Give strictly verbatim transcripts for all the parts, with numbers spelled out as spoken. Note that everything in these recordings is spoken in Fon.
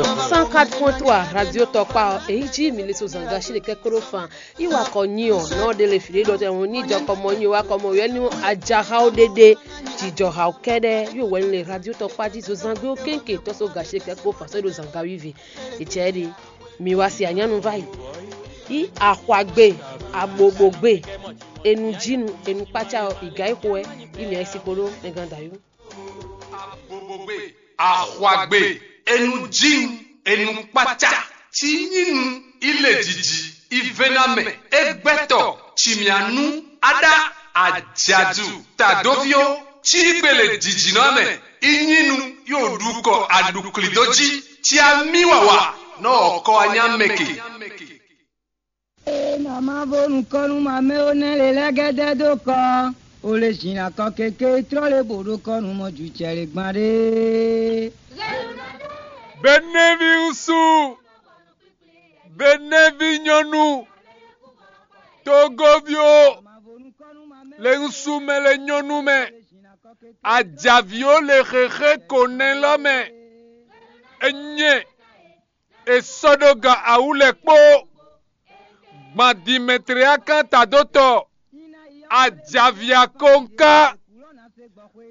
Cent quatre point trois Radio Tɔkpa ɔ́, èyí jí mi le so zǎngashi ɖe kɛ́kɔ́ɖó fan. Yi wa kɔ nyi ɔ́, nɔ ɖe le fǐ ɖé ɖɔ tɛ ŋu ní jɔ kɔ mɔ nyi wa kɔ mɔ yɔ ní ajaxawo ɖéɖé. Jijɔxawo kɛ́ɖɛ́ yóò wɛ le Radio Tɔkpa jí zo zangbe ó kéŋke tɔ́ so gashi kɛ́kɔ́ fan sɔ́ ɖo zǎngawivi. È cɛ ɖe, mi wa si anyánu va yi. Yi axwagbe, abobogbe, enu jinu, enu kpácá ɔ́, ìgá yi xo wɛ, yi mǐ ayisiko ɖó mɛgán dayú. Abobogbe, axwagbe, enu jinu, enu kpácá, ci nyínu, ilé jiji, ivénámɛ, égbɛ́tɔ, cimyanu, aɖá, ajadu, tadóví ɔ́, cí gbele jijinɔ mɛ, inyínu, yóò ɖu kɔ aɖuklidó jí, ci amí wawa, nɔ ɔkɔ anyá mɛ ke. Ena ma bo nukɔn nú ma mɛ ó nɛ́ lě lɛ́ɛ gɛ́dɛ́ dó kɔ. O le zǐn akɔ keke trɔ́ lě bǒ ɖó kɔ nú mɔ jǔcɛ lě gban ɖé. Benɛ́ví ŋsu, benɛ́ví nyɔ́nu, togoví ó, le ŋsu mɛ le nyɔ́nu mɛ, ajǎví ó le xexé ko nɛ́ lɔ mɛ, é nyɛ è sɔ́ ɖó gan awú lɛ́ɛ kpó. Gban din mɛtléakán tadótɔ, ajǎví akɔnká,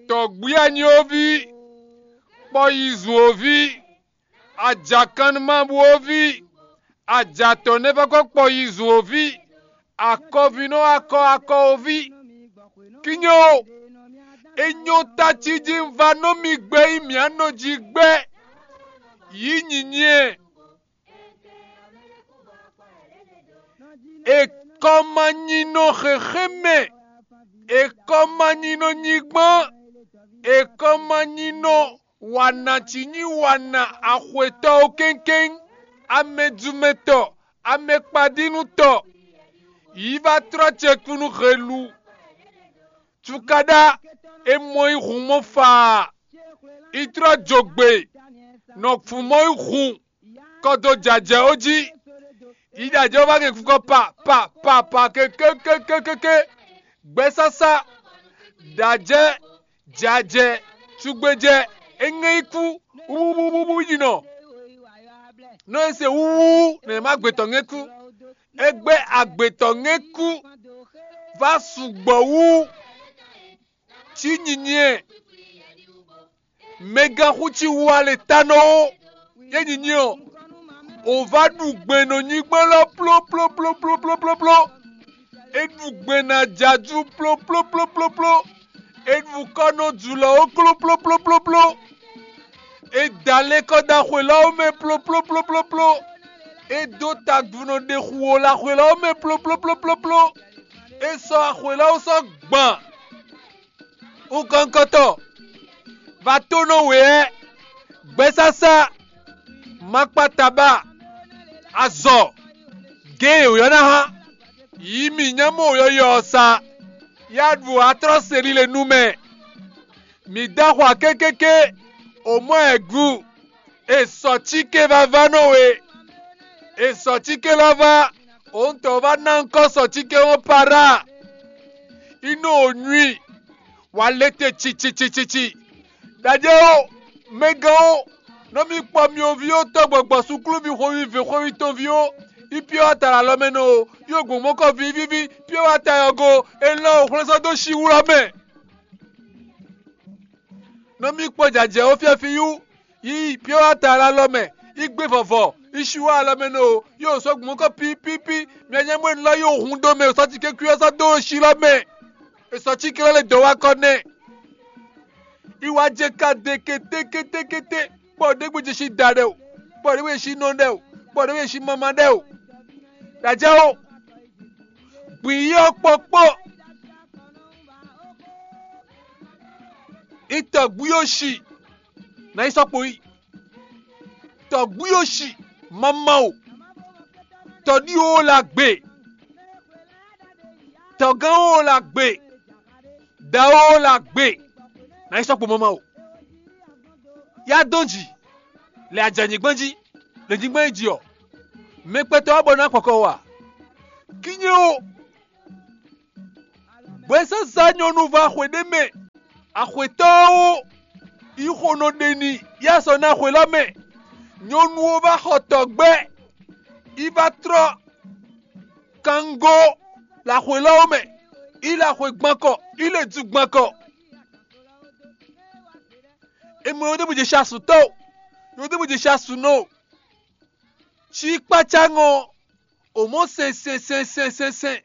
tɔ̌gbí anyóví, kpɔyizun oví, ajakannumabú oví, ajatɔ̌nɛ́vɔ́kɔ kpɔyizun oví, akɔvínɔ akɔ akɔ oví. Kínyɛ ó, é nyɔ́ tací jí un va nɔ mi gbɛ yi mǐ anɔ jí gbɛ. Yǐ nyinyi ɛ. È kɔ ma nyi nɔ xexé mɛ, è kɔ ma nyi nɔ nyigbán, è kɔ ma nyi nɔ wa nǎ cí nyí wa nǎ axwetɔ́ ó kéŋkéŋ, amɛjumɛtɔ, amɛkpadínútɔ. Yǐ va tlɔ́ ce kú nú helu. Cukaɖá e mɔ yi hun mɔ faa, yi tlɔ́ jogbe, nɔ fun mɔ yi hun kɔ dó jɛ ajɛ ó jí. Yi ɖo ajɛ ó vá gɛn fukɔ́ pa pa pa pa kékékékékéké. Gbɛsásá, ɖo ajɛ, jɛ ajɛ, cugbejɛ, é ŋɛ yi kú wúwúwúwú yi nɔ. Nɔ e se wúwú nɛ má gbetɔ́ ŋɛ kú. É gbé agbetɔ́ ŋɛ kú vá sugbɔ wú. Cí nyinyi ɛ, mɛgán xú cí wú alɛ ta nɔ ó. Yé nyinyi ɔ́, o vá ɖu gbe nɔ nyigban lɔ plóplóplóplópló. É ɖu gbe nɔ ajadu plóplóplóplópló. É ɖu kɔ nɔ jǔlɔ́ ó klóplóplóplópló. É da lɛ́ kɔ dó axwe lɔ́ mɛ plóplóplóplópló. É dó tagbunɔ ɖe xu ó lɔ axwe lɔ́ mɛ plóplóplóplópló. É sɔ́ axwe lɔ́ sɔ́ gban. Ukɔnkɔtɔ, vatónɔ wěɛ, gbɛsásá, makpataba, azɔ, gěn e wǒ ná hán, yǐ mǐ nyá mɔ wǒyɔ́yɔ́ ɔ́ sá, yá ɖu atlɔ́ se líle nú mɛ. Mǐ dó axwa kékéké, o mɔ ɛ gu, è sɔ̌ cíké vává nɔ we. È sɔ̌ cíké lɔ vá, òun tɔn vá ná ŋkɔ́ sɔ̌ cíké ɔ́ para. Inú ò nyui, wǎ lé te cicicicici. Ɖajɛ ó, mɛgán ó, nɔ mì kpɔ myɔví ó tɔ́ gbɔgbɔ súkúlúví xweví vě xweví tɔnví ó, yi pyɔ́ wá ta ɖo alɔ mɛ nɔ ó, yi ogbǒn mɔkɔ vívíví, pyɔ́ wá ta yɔgo, è lɔn ò xwlɛ́sɔ́ dó síwúlɔ mɛ. Nɔ mì kpɔ jajɛ ó fyɛ́fíyú, yi pyɔ́ wá ta ɖo alɔ mɛ, yi gbé vɔvɔ, yi síwá alɔ mɛ nɔ ó, yi ò sɔ́ gbǒn mɔkɔ pípípí, myanyámɔ e lɔ yi ò hun dó mɛ, è sɔ́ cíké kwí ɔ́ sɔ́ dó ó sí lɔ mɛ. È sɔ́ cíké lɔ lɛ dɔ̌ wá kɔ nɛ́. Iwa jɛ ka de kétékétékété, kpɔ ɖěbǔ jɛ sí da ɖɛ o, kpɔ ɖěbǔ jɛ sí nɔ ɖɛ o, kpɔ ɖěbǔ jɛ sí mama ɖɛ o. Ɖajɛ o, gbǐ yi ɔ́ kpɔ́kpɔ́. Itɔ̌gbí ɔ́ si, nǎ yi sɔ́ kpo yi. Tɔ̌gbí ɔ́ si, mama o, tɔ̌ɖí o la gbe, tɔ̌gán o la gbe, dǎ o la gbe, nǎ yi sɔ́ kpo mama o. Yá dɔn jǐ, lɛ ajǎnyigban jí, lɛ nyigban yi jí ɔ́, mɛ kpɛtɔ́ wá bɔ ná kpɔkɔ o a? Kínyɛ o, gbɛsasa nyɔ́nu vá xwé ɖé mɛ, axwetɔ́ ɔ́ ó, yi xo nɔ ɖe n'i, yá sɔ́ ná xwé lɔ mɛ. Nyɔnu ɔ́ vá xɔ tɔgbɛ́, yi vá trɔ́ kango laxwelɔ́ ɔ́ mɛ, yi laxwe gbankɔ, yi lɛ ju gbankɔ. È mɔ yɔdébu jɛ sasutɔ́ o, yɔdébu jɛ sasunɔ o. Cí kpácá ŋɔ, o mɔ sɛn sɛn sɛn sɛn sɛn sɛn.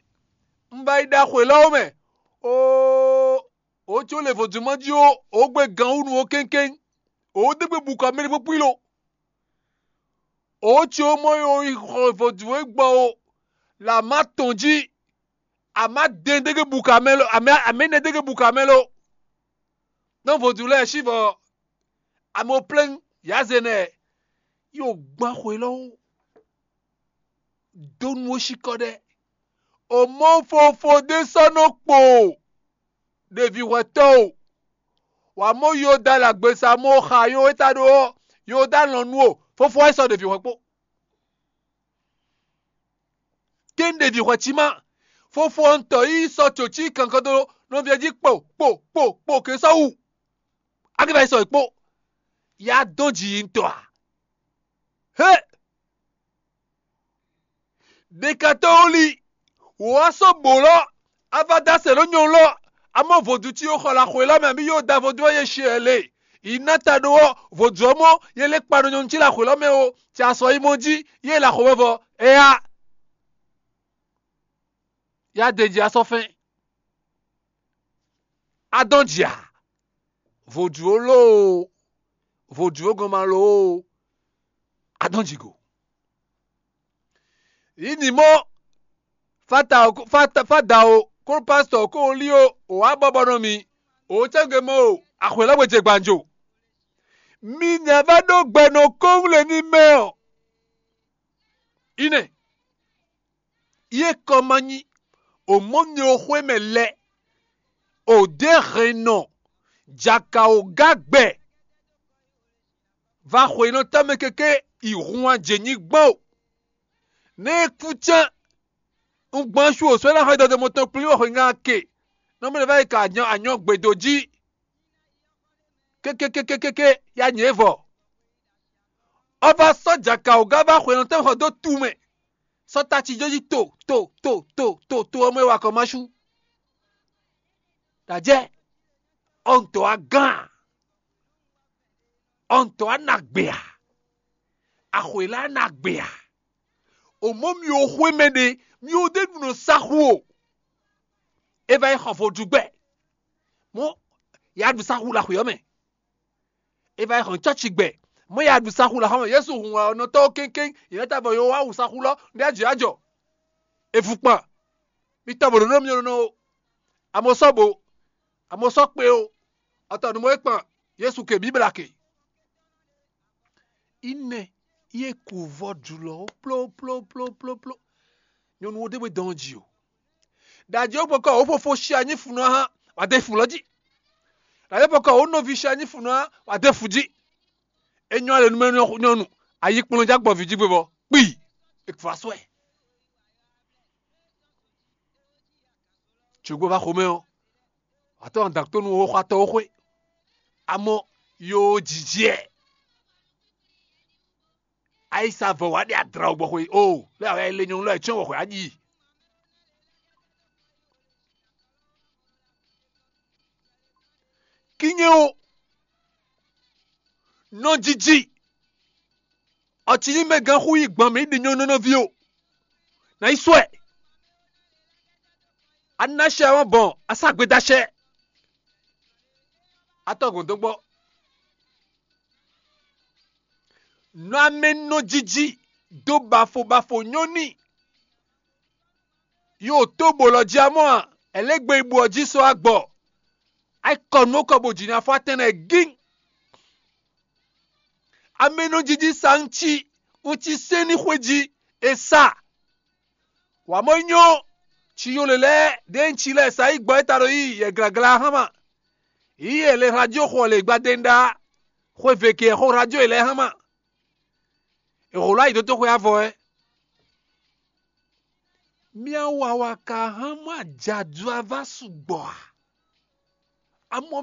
Un ba yi ɖa xwelɔ́ ɔ́ mɛ. Oo, o có lɛ vodúnmɔjí ó, o gbe gǎn wú nú ó kɛ́nkɛ́n. O dé gbe bu kɔ mɛ ɖé kpókpí lo. O có mɔ yi o yi xɔ vodún e gbɔ o, lǎ má tɔn jí. Amǎ dɛn dégé bu kɔ amɛ lo, amɛ amɛ nɛ dégé bu kɔ amɛ lo. Nɔ vodún lɛ́ɛ sí vɔ, amɛ o plɛ́n yǎ zɛ nɛ, yi o gbán xwelɔ́ ó. Dó nú ó sí kɔ ɖɛ. O mɔ fofo ɖé sɔ́ nɔ kpo ɖevi hwɛtɔ́ o. Wǎ mɔ Yoda lɛ agbesa mɔ xa yo e ta ɖó ɔ́, Yoda lɔn nú o, fofo wɛ sɔ́ ɖevi hwɛ kpó. Kɛ́n ɖevi hwɛ cí má, fofo ɔ́ tɔ yi sɔ́ tso cí kankan dó nɔví ɔ́ jí kpo kpo kpo kpo ke sɔ́ wu. Akíva yi sɔ yi kpó. Ya dɔn jǐ yi ŋutɔ a? Hé! Ɖekatɔ́ wú li, wǒ wá sɔ́ bǒ lɔ́, a va dó asɛ ɖó nyɔ̌nu lɔ́, a mɔ vodún cí xɔ la xwé lɔ́ mɛ, abǐ yóò da vodún ɔ́ yě shi ɛ le. Yi ná ta ɖó ɔ́, vodún ɔ́ mɔ yě lɛ́ kpa ɖo nyɔ̌nu cí la xwé lɔ́ mɛ ó, cɛ asɔ yi mɔ jí, yě la xo vɛvɔ, ɛ ya. Ya de ji asɔfɛn. A dɔn jǐ a? Vodún ó loo, vodún ó gɔn ma loo, a dɔn jǐ go. Yi nǐ mɔ fata o, fata fada o, kó pásítọ̀ kó o lí o, o wá bɔbɔ nɔ mi, o cɛ́gbe mɔ o, axwě lɔ́ gbe jɛ gbànjo. Mi nya vá ɖó gbɛ nɔ kɔ́nwlɛ ní mɛ ɔ́. Ine, ye kɔ ma nyi, o mɔ mi o xwé mɛ lɛ, o dě hɛn nɔ, jaka o gá gbɛ, va xweyǐnɔtɔ́ mɛ kéké yi hun wá jɛ nyí gbɔn o. Nɛ́ é kú cán, un gbɔn sú o sɔ́ ná xɔ dɔdɔmɔ tɔn kplí wɛ xweyǐngán ke, nɔ mɛ va yi ka anyɔ anyɔ gbedo jí. Kékékékékéké ya nyɛ vɔ. Ɔ́ va sɔ́ jaka o gá va xweyǐnɔtɔ́ xɔ dó tu mɛ, sɔ́ ta cí jó jí to to to to to to ɔ́ mɛ wa kɔ ma sú. Dǎjɛ, ɔntɔ a gán a? Ɔntɔ a na gbe a? Axwě la na gbe a? O mɔ mi o xwé mɛ ɖé, mi o ɖe ɖu nɔ saxu o. É va yi xɔ vodúgbɛ, mɔ ya ɖu saxu la xwě ɔ́ mɛ. É va yi xɔ cɔ́ci gbɛ, mɔ ya ɖu saxu la xɔ mɛ. Yesu hun wɛ ɔ́ nɔ tɔ́ kéŋkéŋ, yě nɔ ta vɔ yǒ wá wu saxu lɔ ɖé ajɔ ajɔ. È vu kpan, mi tɔ bǒ ɖó nɔ mi nɔ o. Amɔ sɔ́ bo, amɔ sɔ́ kpe o, ɔtɔ nǔ mɔ é kpan, Yesu ke bǐbla ke. Ínɛ, yě ku vɔ jǔlɔ ó plóplóplóplópló. Nyɔnu wo ɖé we dɔn jí o. Ɖají ó gbɔkɔ ó fofo shi anyí funu hã, wà dé fun lɔ jí. Ɖají ó gbɔkɔ ó nɔví shi anyí funu hã, wà dé fun jí. É nyɔ́ alɛ nú mɛ nyɔ́nu, ayi kplɔ́n já gbɔ vǐ jí gbé bɔ kpi, è kpa sɔ́ ɛ. Jǒgbó va xomɛ ɔ́, wà tɔ́ ɔn dǎktónu ó xɔ atɔ ó xwé. Amɔ yo jǐjɛ. Ayisa vɔ wǎ ɖe adra wɔ gbɔ xwe o, lé awɛ le nyɔnu lɔ e cyɔ́n wɔ xwe aɖi. Kínyɛ o, nɔ jiji, ɔtí ní mɛ gán xú yi gbɔn mǐ ɖi nyɔnu nɔví o. Nǎ yi sɔ́ ɛ. A ná sɛ wɔn bɔn a sá gbe dó acɛ. A tɔ́ gɔ̌n dó gbɔ. Nɔ amɛ nɔ jiji dó bafo bafo nyɔ́ n'i. Yǒ tó bǒ lɔ jí amɔ́ a? Ɛlɛ́gbe yi bú ɔ́ jí sɔ́ agbɔ. Ayikɔnú kɔ bó jǐ ná fɔ atɛn lɛ́ɛ gíng. Amɛ nɔ jiji sa ŋci, ŋci sɛ́n ní xwé jí è sa. Wǎ mɔ nyɔ, ci yó lě lɛ́ɛ ɖěe ŋci lɛ́ɛ sa yí gbɔ é ta ɖo yí yɛ glagla hán ma. Yí yɛ lě hla jó xɔ lě gbadé ŋɖá, xwé ve ke xó hla jó yě lɛ́ɛ hán ma. È hǒ lɔ ayǐ dó tó xwé avɔ wɛ. Mía wawa ka hán mɔ ajadu ava sugbɔ a? Amɔ